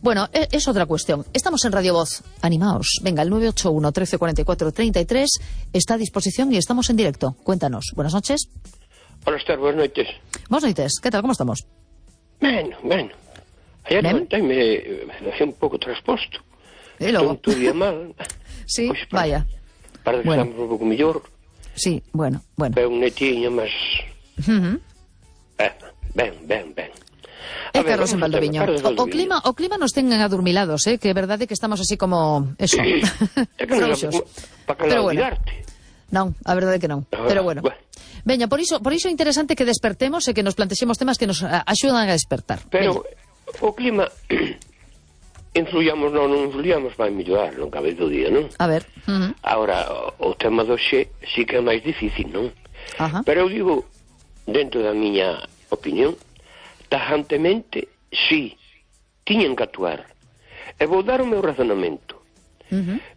Bueno, es otra cuestión. Estamos en Radio Voz. Animaos. Venga, el 981 13 44 33 está a disposición y estamos en directo. Cuéntanos. Buenas noches. Hola, Esther, buenas noites. Buenas noites. ¿Qué tal? ¿Cómo estamos? Bueno. Ayer levantéme un pouco trasposto. E logo? Todo día mal. Sí, Pois, vaya. Para que estamos un pouco mellor. Sí, bueno. Ben un netiño, mas... Ben. É Carlos en Valdoviño. O clima nos ten adormilados, que é verdade que estamos así como... Eso. É que non sabemos para que olvidarte. Non, a verdade é que non. Pero bueno. Veña, por iso é interesante que despertemos e que nos plantexemos temas que nos axudan a despertar. Pero o clima, influyamos non influyamos, vai mellorar, non cabe dúbida, non? A ver. Ahora, o tema do xe sí que é máis difícil, non? Pero eu digo, dentro da miña opinión, tajantemente, sí, tiñen que actuar. E vou dar o meu razonamento.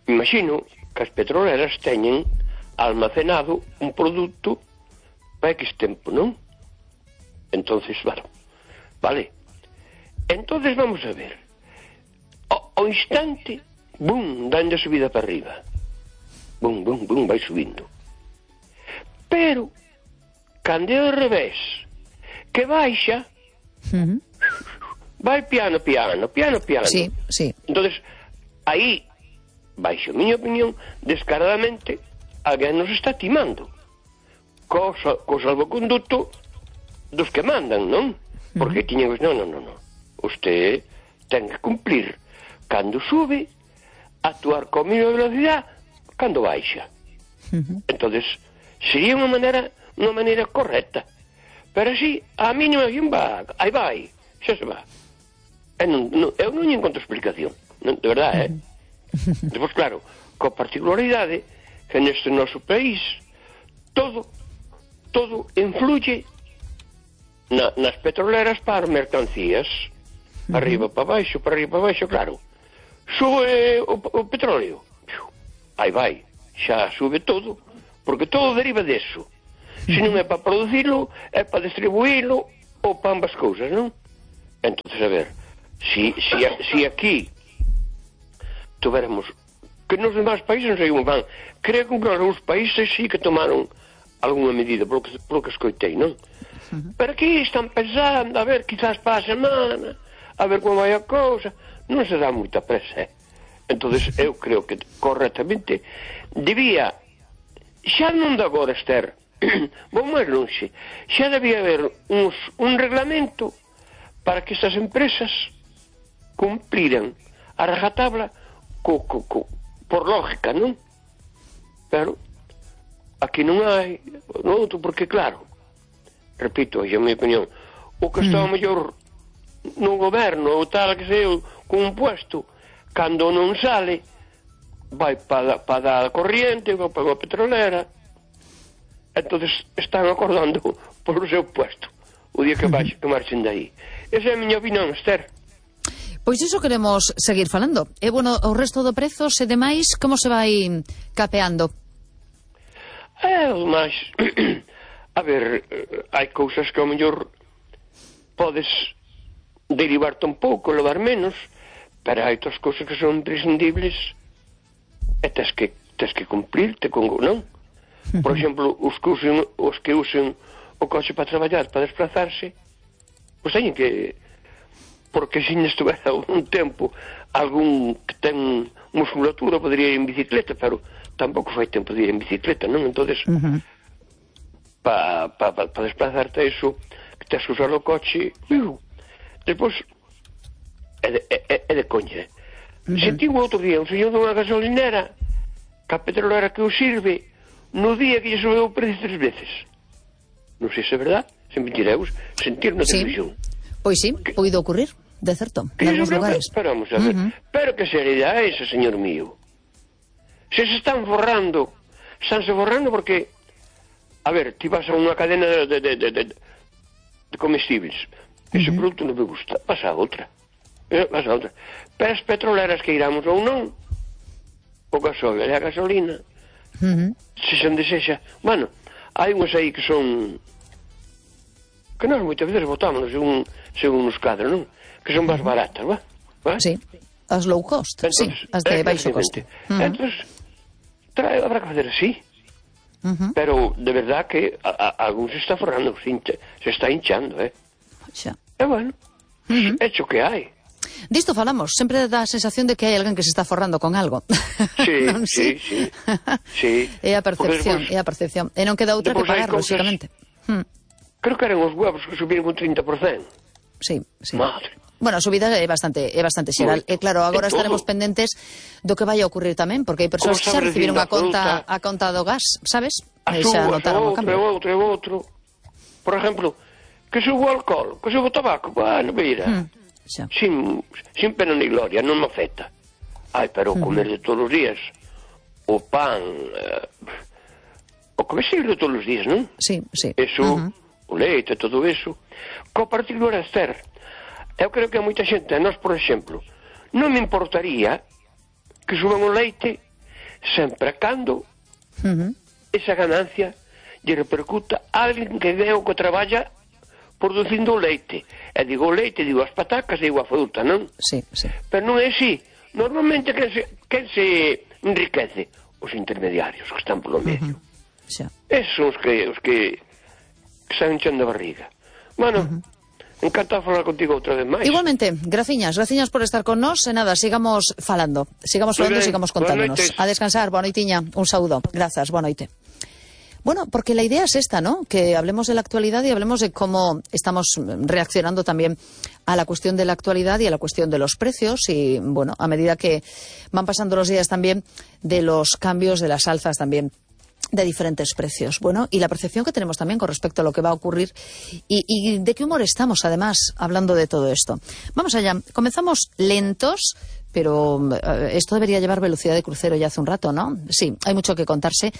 Imagino que as petroleras teñen almacenado un produto para X tempo, non? Entonces, vale. Entonces vamos a ver. Ao instante, bum, dando a subida para arriba. Bum, vai subindo. Pero, cando é ao revés, que baixa, vai piano. Sí. Entonces, aí, baixo a miña opinión, descaradamente, alguén nos está timando. Co salvoconduto dos que mandan, non? Porque tiñen... Non. Usted ten que cumplir cando sube, actuar con mínima velocidade cando baixa. Entonces, sería unha maneira correcta. Pero así, a mínima aí vai, xa se va. Eu non encontro explicación, de verdade, Depois, claro, coa particularidade que neste noso país todo influye nas petroleras para mercancías, arriba para baixo, claro. Sube o petróleo, aí vai, xa sube todo, porque todo deriva deso. Se non é para producirlo, é para distribuirlo ou para ambas cousas, non? Entonces, a ver, si aquí tuviéramos, que nos demais países non sei como van, creo que algúns países sí que tomaron alguna medida, polo que escoitei, non? Pero aquí están pensando, a ver, quizás para a semana, a ver como vai a cousa, non se dá moita presa, Entonces eu creo que correctamente debía, xa non de agora, Esther, vou máis longe, xa debía haber un reglamento para que estas empresas cumpliran a rajatabla por lógica, non? Pero aquí non hai outro, porque claro, repito, é a minha opinión, o que está mellor no goberno ou tal que sei con un puesto, cando non sale vai para a corriente ou para a petrolera, entonces están acordando por o seu puesto o día que marchen de aí. Esa é a miña opinión, Esther. Pois iso queremos seguir falando. E, bueno, o resto do prezos e demais, como se vai capeando? Mas, a ver, hai cousas que ao mellor podes derivarte un pouco, levar menos, pero hai outras cousas que son imprescindibles e tes que cumplirte con, non? Por exemplo, os que usen o coche para traballar, para desplazarse, pois teñen que... Porque se non estuvera un tempo algún que ten musculatura podría ir en bicicleta, pero tampouco fai tempo de ir en bicicleta, non? Entonces, para desplazarte a iso, que tes que usar o coche, despois é de coña. Senti o outro día un señor dunha gasolinera que a petrolera que o sirve no día que lle subeu o precio 3 veces. Non sei se é verdad, se mentireus, sentir na televisión. Pois sí, poido ocurrir, de certo, en algúns lugares. Pero vamos a ver, pero que seriedade é esa, señor mío? Se están forrando porque, a ver, ti vas a unha cadena de comestibles, ese produto non me gusta, vas a outra. Pero as petroleras que iramos ou non, o gasóleo e a gasolina, se se desexa, bueno, hai unhas aí que son, que nós moitas veces botámonos según os cadros, non? Que son máis baratas, va? Sí, as low cost, Entonces, sí, as de baixo coste. Entonces, habrá que facer así. Pero, de verdad que algún se está forrando, se está hinchando, Xa. E bueno, hecho que hai. Disto falamos, sempre dá a sensación de que hai alguén que se está forrando con algo. Sí, Non, sí. É a percepción, é a percepción. E non queda outra que pagar, lógicamente. Creo que eran os huevos que subiron un 30%. Sí. Madre. Bueno, a subida é bastante xeral. E claro, agora estaremos pendentes do que vai a ocurrir tamén, porque hai persoas que xa recibiron a conta do gas, sabes? Xa notaron o cambio. Outro. Por exemplo, que subo o alcohol, que subo o tabaco, bueno, mira, sin pena ni gloria, non me afecta. Ai, pero comer de todos os días, o pan, o comer de todos os días, non? Sí. Eso, o leite, todo eso. Co particular Esther, eu creo que a moita xente, a nós, por exemplo, non me importaría que suban o leite sempre cando esa ganancia lle repercuta a alguén que veo que traballa producindo o leite. E digo o leite, digo as patacas, digo a fruta, non? Sí. Pero non é así. Normalmente quen se enriquece? Os intermediarios que están polo medio. Esos son os que están hinchando a barriga. Bueno, encantado de falar contigo outra vez máis. Igualmente, graciñas por estar con nós. E nada, sigamos falando e sigamos contándonos. A descansar, boa noitiña, un saúdo. Grazas, boa noite. Bueno, porque la idea es esta, ¿no? Que hablemos de la actualidad y hablemos de cómo estamos reaccionando también a la cuestión de la actualidad y a la cuestión de los precios y, bueno, a medida que van pasando los días también de los cambios, de las alzas también de diferentes precios. Bueno, y la percepción que tenemos también con respecto a lo que va a ocurrir y de qué humor estamos, además, hablando de todo esto. Vamos allá. Comenzamos lentos, pero esto debería llevar velocidad de crucero ya hace un rato, ¿no? Sí, hay mucho que contarse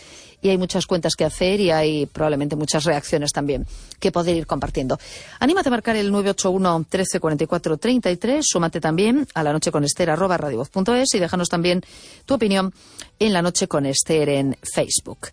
y hay muchas cuentas que hacer y hay probablemente muchas reacciones también que poder ir compartiendo. Anímate a marcar el 981 13 44 33, súmate también a la noche con Esther @radiovoz.es y déjanos también tu opinión en La Noche con Esther en Facebook.